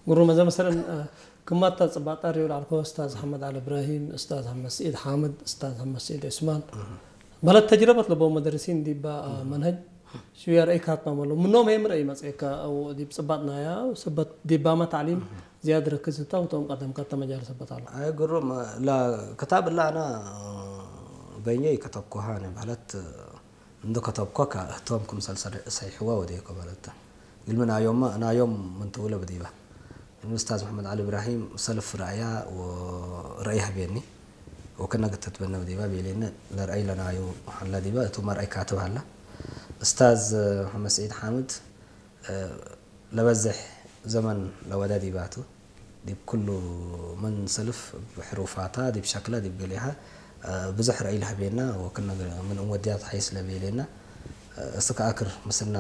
ጉሩም እዛ መሰለን ክማታ ጽባጣ ሪዮ ላልኮ ኡስታዝ ሓመድ ዓሊ እብራሂም፣ ኡስታዝ ሓመድ ስዒድ ሓምድ፣ ኡስታዝ ሓመድ ስዒድ ዑስማን፣ በለት ተጅረበት ለቦ መደርሲን ዲባ መንሀጅ ሽውያ ረእይ ካትማ መሎ ምኖም ሄም ረእይ መጽኤካ። ዲብ ጽባጥናያ ሰበት ዲባማ ታዕሊም ዝያድ ረክዝታ ውቶም ቀደም ካታ መጃል ሰበት ኣሎ። ኣይ ጉሩም፣ ክታብ እላ ኣና በይነይ ከተብኩሃ ነ ማለት እንዶ ከተብኮ እህቶም ክምሰል ሰይሕዋ ወደየኮ ማለት ግልሚ ናዮም ናዮም ምንትውለ ብዲባ ኡስታዝ መሐመድ ዓሊ እብራሂም ሰልፍ ረእያ ረእይ ህቤኒ ወከነ ግተትበነ ብዲባ ቤሌኒ ለረእይ ለናዩ ሀላ ዲባ እቱ መርአይ ካትብ ሀላ ኡስታዝ መሐመድ ስዒድ ሓምድ ለበዝሕ ዘመን ለወደ ዲባቱ ዲብ ኩሉ ምን ሰልፍ ብሕሩፋታ ዲብ ሸክላ ዲብ ገሊሃ ብዙሕ ረእይ ለህቤና ወክነ ምን እወዲያ ተሓይስ ለቤሌና እስከ ኣክር ምስና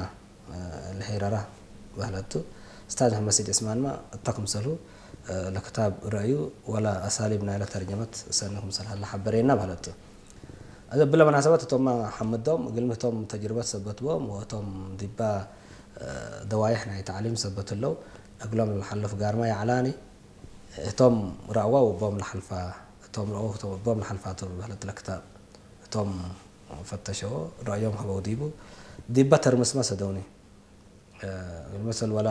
ለሄረራ ባህለቱ ኡስታዝ መሐመድ ስዒድ ዑስማንማ እታ ክምሰሉ ለክታብ ረእዩ ወላ ኣሳሊብ ናይለ ተርጀመት ሰኒ ክምሰል ሀላ ሓበሬና ባህለቱ። እዚ ብለ መናሰበት እቶም ሓምዶም ግልሚ እቶም ተጅርበት ሰበትዎም ወእቶም ዲባ ደዋይሕ ናይ ተዕሊም ሰበት ኣለው እግሎም ለሓልፍ ጋርማ ያዕላኒ እቶም ረእዋ ወቦም ለሓልፋ እቶም ረእዋ ወቦም ለሓልፋ ተብህለት ለክታብ እቶም ፈተሸዎ ረእዮም ሀበው ዲቡ ዲባ ተርምስማ ሰደውኒ መሰል ወላ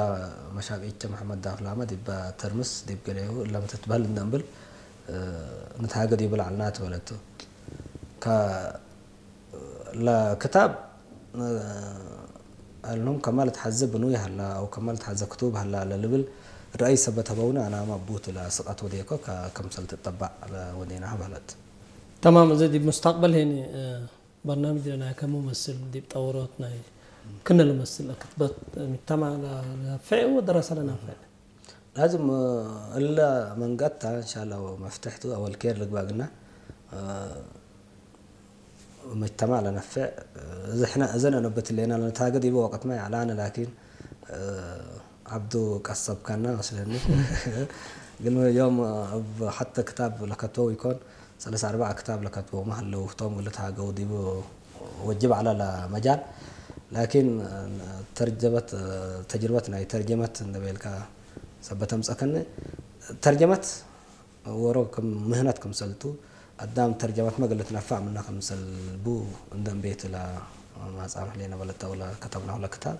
መሻቅ ኢቸ መሐመድ ዳፍላመ ዲባ ተርምስ ዲብ ገሌሁ እለም ትትበህል እንደንብል ንትሃገ ዲቡ ላዕልና ትበለቱ። ለክታብ ኣልኖም ከማ ልትሓዘ ብኑይ ሃላ ኣው ከማ ልትሓዘ ክቱብ ሃላ ለልብል ረአይ ሰበት ሀበውነ ኣናማ ቡት ለስቀት ወዴኮ ከምሰል ትጠባዕ ወዴና በለት። ተማም እዚ ዲብ ሙስታቅበል ሄኒ በርናምጅ ለናይ ከሙመስል ዲብ ጠውሮት ናይ ክነ ልመስል ክትበት ሚጅተማዕ ለናፍዕ ወደረሰ ለናፍዕ። ላዝም እለ መንገታ እንሻላ መፍትሕቱ ኣወል ኬር ልግባግና መጅተማዕ ለነፍዕ እዝሕና እዘን ኣነበት ሌና ለነታገድ ይበ ወቀትማ ያዕላነ ላኪን ዓብዱ ቀሰብካና መስለኒ ግን ዮም ኣብ ሓተ ክታብ ለከትበው ይኮን ሰለሳ ኣርባዓ ክታብ ለከትበው ማህለው ቶም ግልት ሃገው ዲቡ ወጅብ ዓላ ለመጃል ላኪን ተርጀበት ተጅርበት ናይ ተርጀመት እንደበልካ ሰበተምፀከኒ ተርጀመት ወሮ ከም ምህነት ከምሰልቱ ኣዳም ተርጀመት መገለት ነፋዕ ምና ከምሰልቡ እንደንቤት ላ ማጻም ሕሌና በለታ ወላ ከተብና ሁላ ክታብ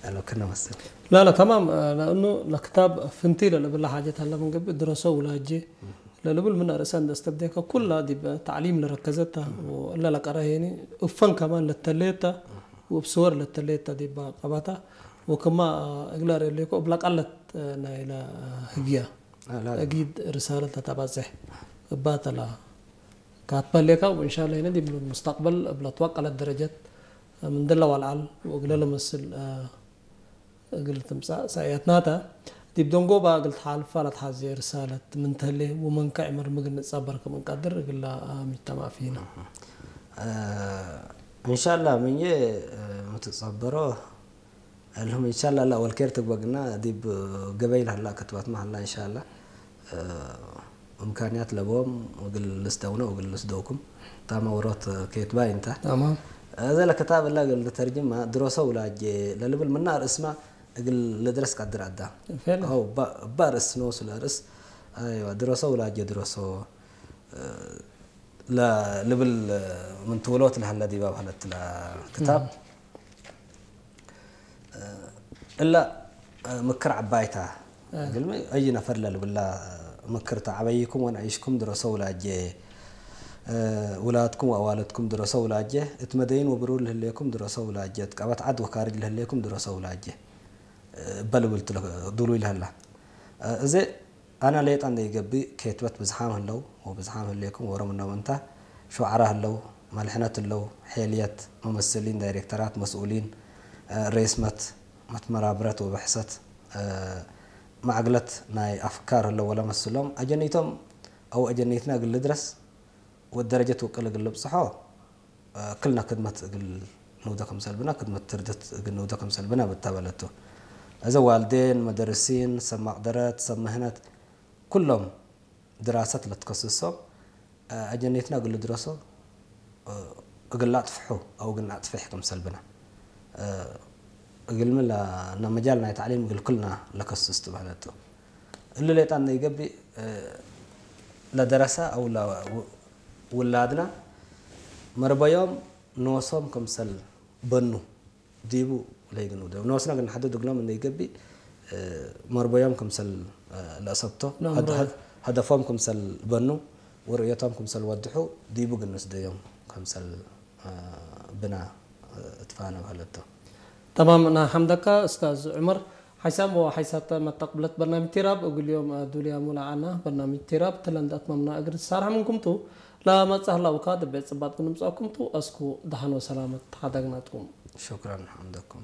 ያለው ክነ መስል لا لا تمام. لأنه الكتاب فنتي للبلا حاجة هلا من قبل درسه ولا جي للبل من أرسان دستبديك كلها دي تعليم لركزتها ولا لقرا هيني أفن كمان للتليتا وبصور للتليتا دي بقبتها وكما إقلار اللي كو بلا قلت نايلا هجيا أكيد رسالة تتبزح باتلا كاتبا ليكا وإن شاء الله هنا دي من المستقبل بلا توقع للدرجة من دلا والعل وقلل مسل እግል ትምጻእ ሰእያትናታ ዲብ ደንጎባ እግል ትሓልፋ ለትሓዜ ርሳለት ምን ተሌ ወመንካ ዕመር ምግል ንጸበር ከም እንቀድር እግላ ሚጅተማዕ ፊና። እንሻላ ምኘ ምትጸበሮ እልሁም እንሻላ ላ ወልኬር ትግበግና ዲብ ገበይ ለህላ ክትባት መሃላ እንሻላ እምካንያት ለቦም እግል ልስደውነ ወእግል ልስደውኩም ታማ ወሮት ኬትባይ እንተ تمام እዘ ለክታብ እላ እግል ልተርጅማ ድሮሰ ውላጄ ለልብል ምና ርእስማ እግል ልድረስ ቀድር ኣዳ فعلا እባ ርእስ ኖሱ ለርእስ ኣይዋ ድሮሰ ውላጄ ድሮሶ ለልብል ምን ትውሎት ለሀለ ዲባ ባህለት ለክታብ እላ ምክር ዓባይታ ግልሚ እይ ነፈር ለልብላ ምክርታ ዓበይኩም ወንዕሽኩም ድረሰው ላጀ ውላድኩም ወኣዋልድኩም ድረሰው ላጀ እት መደይን ወብሩር ልህሌኩም ድረሰው ላጀ እት ቀበት ዓድ ወካርጅ ልህሌኩም ድረሰው ላጀ እበ ልብል ድሉይ ልህላ እዘ ኣና ሌጣ እንደ ይገብእ ኬትበት ብዝሓም ህለው ወብዝሓም ህሌኩም ወሮም እነው እንታ ሹዓራ ህለው መልሕነት ህለው ሔልየት መመስሊን ዳይሬክተራት መስኡሊን ሬስመት መትመራብረት ወብሕሰት ማዕግለት ናይ ኣፍካር ህለው ወለመስሎም ኣጀኒቶም ኣው ኣጀኒትና እግል ልድረስ ወደረጀት ውቅል እግል ልብጽሖ ክልና ክድመት እግል ንውደ ከምሰልብና ክድመት ትርደት እግል ንውደ ከምሰልብና ብታበለቱ እዘ ዋልዴን መደርሲን ሰብ ማቅደረት ሰብ ምህነት ኩሎም ድራሰት ለትከስሶም ኣጀኔትና እግል ድረሶ እግል ላጥፍሑ ኣው ግን ኣጥፍሕ ከምሰልብና እግልሚ ለ-፣ እና መጃል ናይ ታዕሊም እግል ኩልና ለከስስ ትባህለቶ። እሉ ሌጣን ነይገቢ፣ እ፣ ለደረሳ አው ለውላድና መርበዮም ንወሶም ከምሰል በኑ ዲቡ ለይግን ውደ ንወስና ግን ሓደ ድግሎም እንደይገቢ፣ እ፣ መርበዮም ከምሰል፣ እ፣ ለእሰብቶ፣ ነምሮ። ሀደ-፣ ሀደ-፣ ሀደፎም ከምሰል በኑ፣ ወርእዮቶም ከምሰል ወድሑ፣ ዲቡ ግን ንስደዮም ከምሰል፣ እ፣ ብና፣ እ፣ እትፋነ ባህለቶ። تمام، أنا حمدك أستاذ عمر. حيسام وحيسات متقبلت برنامج تيراب، أقول اليوم دوليا مولا عنا برنامج تيراب، تلندت ممنا أجر السارة منكم تو. لا ما تسهل وكاد بيت سبات كنم سأكم تو، أسكو دهان وسلامة حدقنا توم. شكرًا حمدكم.